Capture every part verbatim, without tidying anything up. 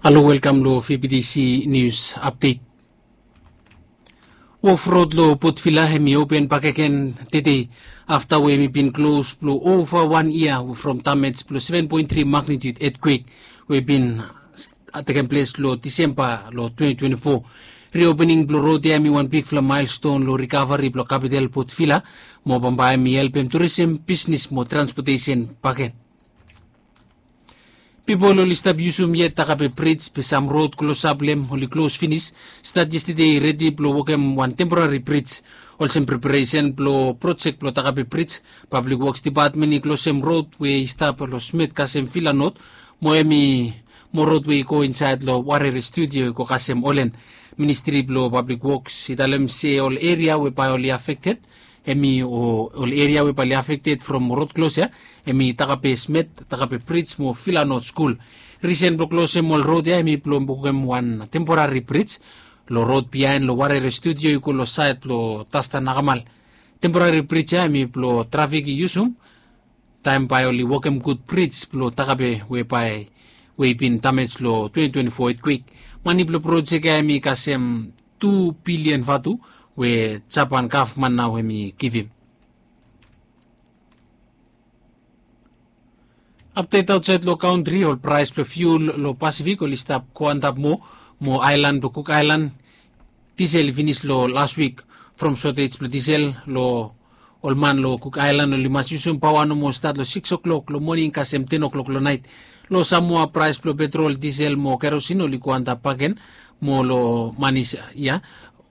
Halo, welkam long V B T C News Update. Wharf Road long Port Vila hemi open bakegen tede afta we hemi bin klos blong ova wan yia from damej blong seven point three magnitude earthquake we bin tekem ples long Disemba long twenty twenty-four. Reopening blong rod ya hemi wan bigfala milestone long rikaveri blong kapital Port Vila mo bambae hemi helpem turism, bisnes mo transpotesen bakegen. Pipol oli stap yusum yet Takape Brij be sam rod klosap long hem oli klos finis. Stat yestede i redi blong wokem wan temporari brij. Olsem preparesen blong projek blong Takape Brij, Pablik Woks Depatmen i klosem rod we i stap long Smet kasem Vila Not, mo hemi mo rod we i go insaed long Warere Studio i go kasem Olen. Ministri blong Pablik Woks i talem se ol eria we bae oli afekted hemi o ol eria we bae oli afekted from rod klos ya hemi Takape Smet, Takape Brij mo Vila Not Skul. Risen blong klosem ol rod ya hemi blong wokem wan temporari brij long rod biaen long Warere Studio i go long saed blong Dasta Nakamal. Temporari brij ya hemi blong trafik i yusum taem bae oli wokem gud brij blong Takape we bae we i bin damej long twenty twenty-four earthquake. Mane blong projek ya hemi kasem tu bilian vatu we Japan gavman nao hemi givim. Apdet aotsaed long kantri, ol praes blong fiul long Pasifik oli stap go antap moa, mo aelan blong Kuk Aelan disel i finis long las wik. From sotej blong disel long ol man long Kuk Aelan oli mas yusum paoa nomo stat long sikis o'klok long moning kasem ten o'klok long naet. Long Samoa praes blong petrol, disel mo kerosin oli go antap bakegen moa long manis ya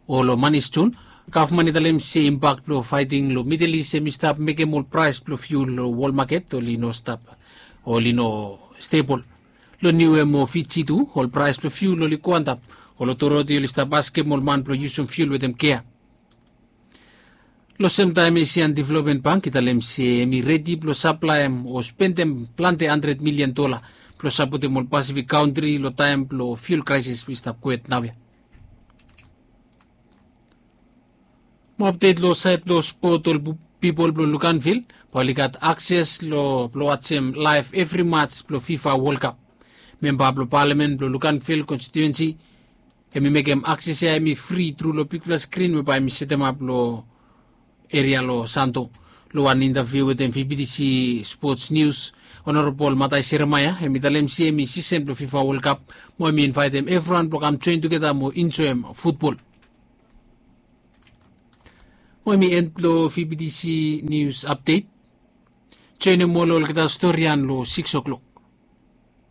o long manis Jun. Gavman i talem se impak blong faeting long Midel Is hemi stap mekem ol praes blong fiul long wol maket oli no stap, oli no stebol. Long Niue mo Fiji tu ol praes blong fiul oli go antap. Ol otoriti oli stap askem ol man blong yusum fiul wetem kea. Long semtaem Asian Development Bank i talem se hemi redi blong saplaem o spendem plante handred milian dola blong sapotem ol Pasifik kantri long taem blong fiul kraesis we i stap gohed naoia. Mo apdet long saed blong spot, ol pipol blong Luganville bae oli gat akses long blong wajem laev evri maj blong FIFA World Cup. Memba blong palamen blong Luganville konstituensi hemi mekem akses ya hemi fri tru long bigfala skrin we bae hemi setemap long eria long Santo. Long wan intaviu wetem VBTC Sports News, Honorable Matai Seremaia hemi talem se hemi sisen blong FIFA World Cup mo hemi invaetem evriwan blong kam joen tugeta mo enjoem futbol. Mo hemi en blong VBTC News Update. Joenem ol olgeta storian long sikis o'klok.